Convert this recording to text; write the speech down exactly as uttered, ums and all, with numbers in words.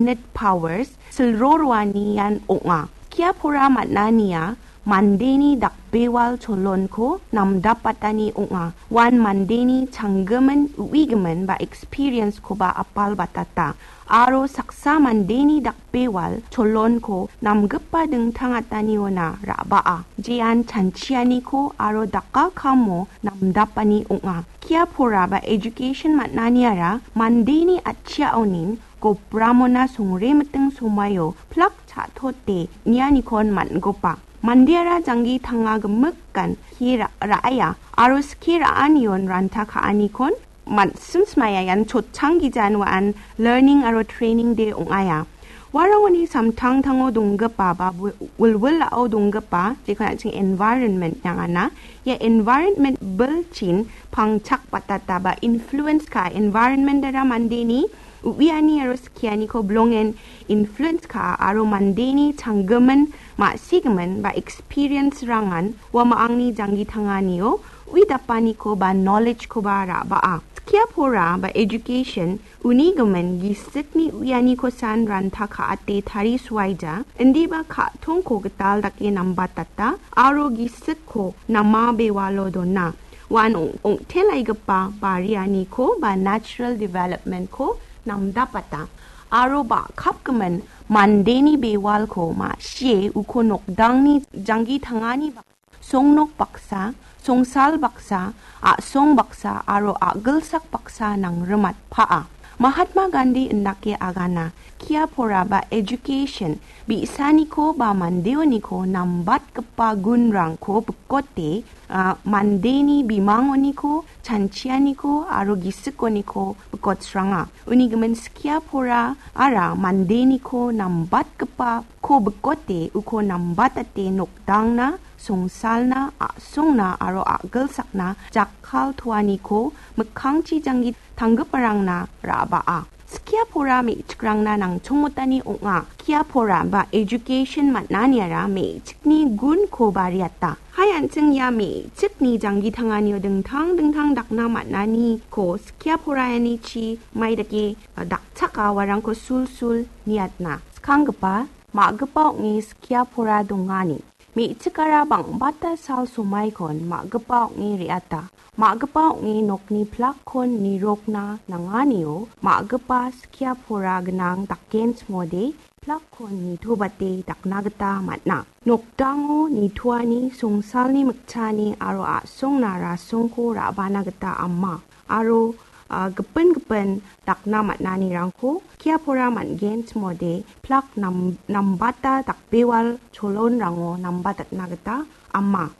Net powers silro roanian ong·a. Skia pora man·ania mandeni dakbewal cholonko namdapatani ong·a. Uan mandeni changgimin uigimin ba experience-koba apal batata. Aro saksa mandeni dakbewal cholonko namgipa dingtang ataniona ra·baa. Jean chanchianiko aro dakakamo namdapani ong·a. Skia pora ba education man·aniara mandeni atchiaonin gopramona songremiting somaio plak cha·tote nianikon man·gopa. Mandeara janggi tanga gimikan skie ra-, ra·aia aro skie ra·anion ranta ka·anikon man-, simsmaia ian chotchang gijan wa·an learning aro training day ong·aia. Uarangoni samtangtango donggipa ba wi-, wilwilao donggipa, jekon an·ching environment nangana. Ia environment bilchin pangchak batata ba influence ka environment-ara mandeni uiani aro skianiko bilongen influence ka aro mandeni changgimin ma·sigimin ba experience-rangan uamangni janggi tanganio uidapaniko ba knowledge-koba ra·baa. Skia pora ba education unigimin gisikni uianikosan ranta ka·ate tarisuaija, indiba ka·tongko gital dake nambatata aro gisikko nama bewalo dona. Uan ong-, ong·telaigipa barianiko ba natural development-ko namdapata. Aro ba·kapgimin mandeni bewalko ma·sie uko nokdangni janggi tangani ba-, songnok baksa, songsal baksa, a·song baksa aro a·gilsak baksa nangrimatpaa. Mahatma Gandhi indake agana, skia pora ba education, bi·saniko ba mandeoniko nambatgipa gunrangko bikote, a, mandeni bimangoniko, chanchianiko aro gisikoniko bikotsranga. Uni gimin skia pora ara mandeniko nambatgipako bikote uko nambatate nokdangna, songsalna, a·songna aro a·gilsakna jakkal toaniko mikkangchi janggi tanggiparangna ra·baa. Skia pora me·chikrangna nangchongmotani ong·a. Skia pora ba education man·aniara me·chikni gunko bariata. Hai an·ching ia me·chikni janggi tanganio dingtang dingtang dakna man·aniko skia poraianichi maidake, a, dakchaka uarangko sulsul niatna. Skanggipa, ma·gipa ong·e skia pora dongani. Me·chikara bang·bata sal somaikon ma·gipa ong·e re·ata. Ma·gipa ong·e nokni plakkon nirokna nanganio ma·gipa skia pora gnang dakenchimode plakkon nitobate dakna gita man·a. Nokdango nitoani songsalni mikchaani aro a·songna rasongko ra·bana gita ama. Aro, a, gipin gipin dakna man·anirangko skia pora man·genchimode plak nam-, nambata dakbewal cholonrango nambatatna gita ama.